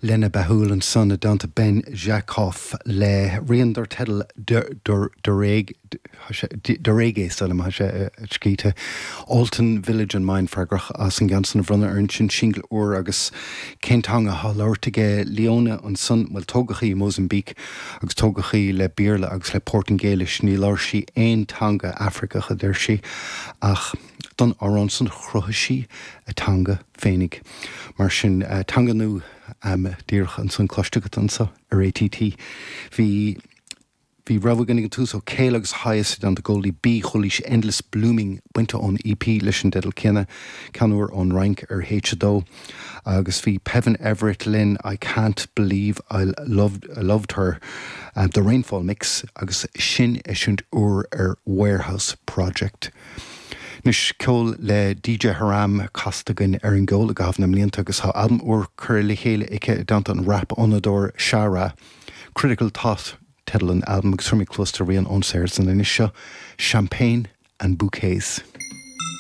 Lena Bahul ansan i dteannta Ben Jakoff le rian dar teideal Derege, sílim atá sé scríte. Alton Village and Mine freagrach as an gceann san a bhronnadh orainn, sin singil úr agus cén teanga atá á labhairt aige Leona ansan? Bhuel tógadh í i Mozambique agus tógadh í le Béarla agus le Portaingéilis, ní labhair sí aon teanga Afraiceach a deir sí ach don amhrán san chruthaigh sí a teanga féinig. Mar sin, teanga nua díreach ansan cloiste agat anso ar ATT. Bhí Bhí rogha againn ag an tús ó Cale agus Highest i dteannta Goldie B. Chualaís Endless Blooming bainte ón EP leis an dteideal céanna, ceann úr ón Fhrainc ar H2. Agus bhí Peven Everett linn, I Can't Believe I Loved, Loved Her, The Rainfall Mix, agus sin eisiúint úr ar Warehouse Project. Anois, ceol le DJ Haram casta againn ar an gceol i gcaitheamh na mblianta agus tá albam úr curtha le chéile aici i dteannta an rap-fhonnadóir Sha Ra. Critical Thought teideal an albaim agus tabharfaidh mé cluas do rian ón saothar san anois seo, Champagne and Bouquets.